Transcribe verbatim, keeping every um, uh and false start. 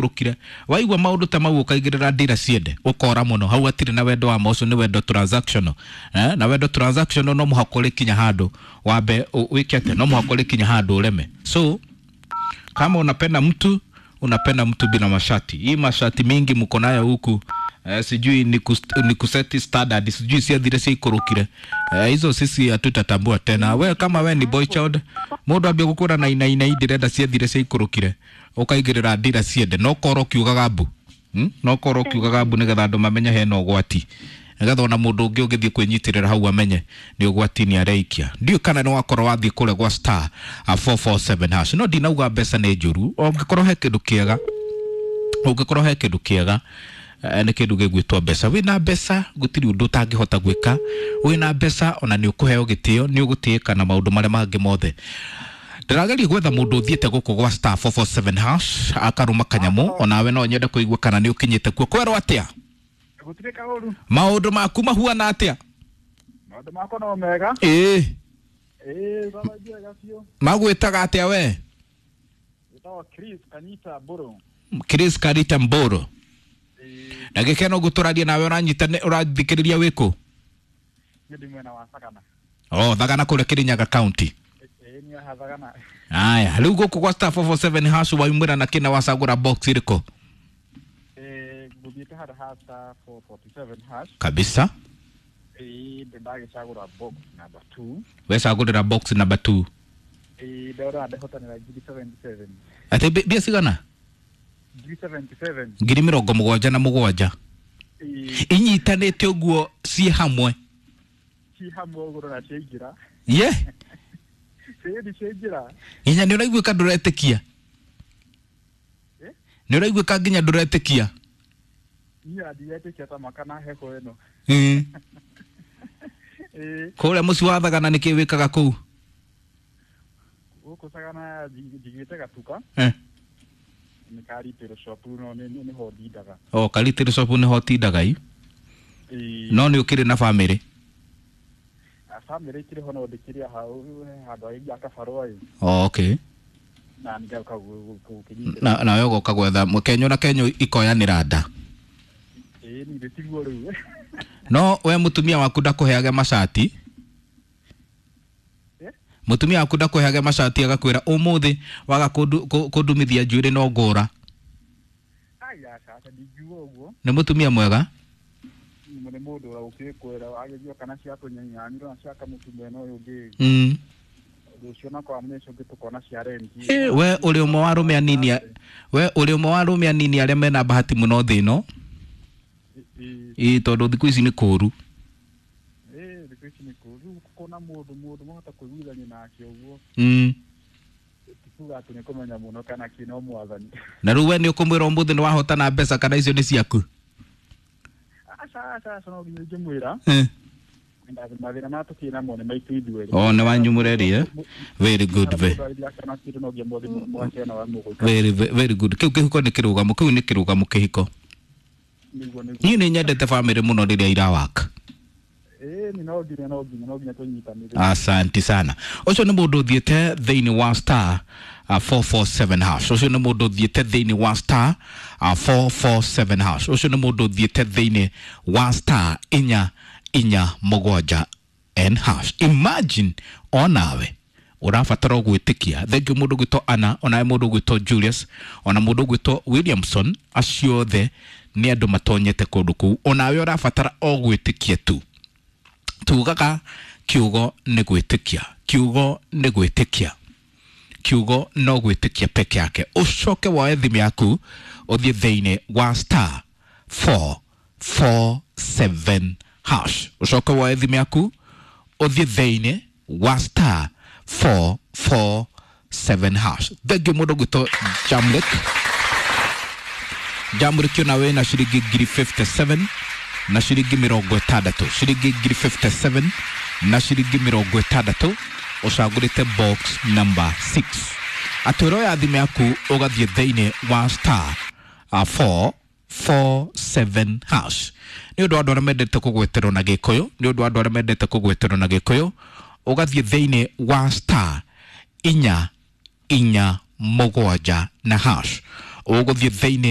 Rukire waigua maundu ta mau ukaigirira ndira ciende ukora muno hau atire na wendo wa ma ucio ni wendo transactional eh, na wendo transactional no muhaka urikinya handu wambe wike atia, no muhaka urikinya handu ureme. So kama unapenda mtu, unapenda mtu bila mashati. Hii mashati mingi mko nayo huku eh, sijui ni, kus, ni kuseti standard, sijui ciathire ciaikurukire eh, hizo sisi hatutatambua tena. We kama we ni boy child, mundu ambia gukura na ina ina ndirenda ciathire ciaikurukire ukaigirira ndira ciende no korwo kiugaga mbu hmm? no korwo kiugaga mbu nigetha andu mamenye hena ugwati, nigetha ona mundu ungi ungithie kwinyitirira hau amenye ni ugwati ni areikia. Ndiũ kana ni wakorwo wathie kuria gwa star four four seven hash. No ndinauga mbeca ni njuru, ungikorwo he kindu kiega, ungikorwo he kindu kiega nä kä ndå gä gwätwo mbeca. Wä na mbeca gũtirĩ ũndũ ũtangĩhota gwĩka, wĩna mbeca ona nĩ ũkũheo gĩtĩo, nĩ ũgũtĩĩka na maũndũ marĩa mangĩ mothe. Ndĩrageria gwetha mũndũ ũthiĩte gũkũ gwa star four four seven hash akarũma kanyamũ, onawe no nyende kũigua kana nĩ ũkinyĩte kuo. Kwerwo atĩa? Gũtirĩ kaũru. Maũndũ maku mahuana atĩa? Maũndũ makwa no mega. Ĩĩ. Ĩĩ, baba njega biũ. Magwĩtaga atĩa we? Wĩtagwo Chris Kanita Mbũrũ. Chris Kanita Mbũrũ. Na gĩkeno ngũtũraria nawe, ũranyita ũrathikĩrĩria wĩkũ? Niĩ ndĩ mwena wa Thagana. Oh, Thagana kũrĩa Kirinyaga County. Ĩĩ, niĩ haha Thagana. Aya, rĩu gũkũ gwa star four four seven hash waumĩra na kĩna wacagũra box ĩrĩkũ? Ĩĩ, ngũthiĩte handũ ha star four forty seven hash. Kabisa. Ĩĩ, ndagĩcagũra box number two. Wecagũrĩra box number two. Ĩĩ, ndĩrona ndehotanĩra ngiri seventy seven. Atĩ mbia cigana? Ngiri seventy seven. Ngiri mĩrongo mũgwanja na mũgwanja. Inyitanĩte ũguo ciĩ hamwe. Ciĩ hamwe ũguo na ciaingĩra. Ye? Ciĩ ciaingĩra. Nginya nĩ ũraiguĩka ndũretĩkia? Nĩ ũraiguĩka nginya ndũretĩkia? Niĩ ndiretĩkia ta maka na heho ĩno. Ĩĩ. Ĩĩ. Kũrĩa mũciĩ wa Thagana nĩkĩ wĩkaga kũu? Gũkũ Thagana njigĩte gatuka. Eh. Nĩ ka retail shop no nĩ nĩho ndindaga. Oh, ka retail shop nĩho ũtindaga i? Ĩĩ. No nĩ ũkĩrĩ na famĩlĩ? Famĩlĩ ĩkĩrĩ ho no ndĩkĩrĩ hau handũ haingĩ kabarũa ĩ. Oh, okay. Na nĩngoka gũkĩnyitĩrĩra. Na nawe ũgoka gwetha Kenyo na Kenyo ikoyanĩra nda. Ĩĩ, niĩ tiguo rĩu. No we mũtumia waku ndakũheage macati? Mũtumia waku ndakũheage macati agakwĩra ũmũthĩ waga kũndumithia njuĩrĩ no ngũra? Ai, aca, aca, ndingiuga ũguo. Nĩ mũtumia mwega? Nĩ mũndũ ũrĩa ũkĩkwĩra agĩthiĩ kana cia kũnyanyanyũra na cia kamũtu mwena ũyũ ũngĩ. Mm. Rũciũ na kwa mĩico ũngĩ tũkona cia renti. Eh, we ũrĩ ũmwe wa arũme anini, we ũrĩ ũmwe wa arũme anini arĩa mena bahati mũno thĩ ĩno. Ĩĩ, tondũ thikũ ici nĩ kũũru. Ĩĩ, thikũ ici nĩ kũũru. Rĩu kũna mũndũ mũndũ mahota kũiguithania nake ũguo. Mm. Ti kuga atĩ nĩ kũmenya mũno kana kĩ no mwathani. Na rĩu we nĩ ũkũmwĩra ũmũthĩ nĩ wahotana mbeca kana icio nĩ ciaku? Aca, aca, aca, no nginya ingĩmwĩra. Eh. Mathĩna maya tũkĩrĩ namo nĩ maitũ ithuerĩ. Oh, nĩ wanyu mũreri, eh? Very good, very. Very, very good. Kĩu kĩhiko nĩ kĩrũgamo, kĩu nĩ kĩrũgamo kĩhiko. Niĩ nĩ nyendete famĩlĩ mũno rĩrĩa irawaka. Ĩĩ, nĩ no nginya, no nginya, no nginya tũnyitanĩre. Asante sana. Ũcio nĩ mũndũ ũthiĩte thĩinĩ wa star four four seven hash. Ũcio nĩ mũndũ ũthiĩte thĩinĩ wa star four four seven hash. Ũcio nĩ mũndũ ũthiĩte thĩinĩ wa star inya inya mũgwanja n hash. Imagine onawe ũrabatara gwĩtĩkia. Thengiũ mũndũ ũgwĩtwo Anna, onawe mũndũ ũgwĩtwo Julius, ona mũndũ ũgwĩtwo Williamson, acio othe nĩ andũ matonyete kũndũ kũu. Onawe ũrabatara o gwĩtĩkia tu. Tugaga kiugo nĩ gwĩtĩkia, kiugo nĩ gwĩtĩkia, kiugo no gwĩtĩkia peke yake. Ũcoke woe thimũ yaku ũthiĩ thĩinĩ wa star four four seven hash. Ũcoke woe thimũ yaku ũthiĩ thĩinĩ wa star four four seven hash. Thengiũ mũndũ ũgwĩtwo Jamlek. Jamlek ona wĩna ciringi ngiri fifty seven na ciringi mĩrongo ĩtandatũ, ciringi ngiri fifty seven na ciringi mĩrongo ĩtandatũ, ũcagũrĩte box number six. Atĩ ũroya thimũ yaku ũgathiĩ thĩinĩ wa star four four seven hash. Nĩ ũndũ wa andũ arĩa mendete kũgweterwo na Gĩkũyũ, nĩ ũndũ wa andũ arĩa mendete kũgweterwo na Gĩkũyũ, ũgathiĩ thĩinĩ wa star inya inya mũgwanja na hash. Ũgũthiĩ thĩinĩ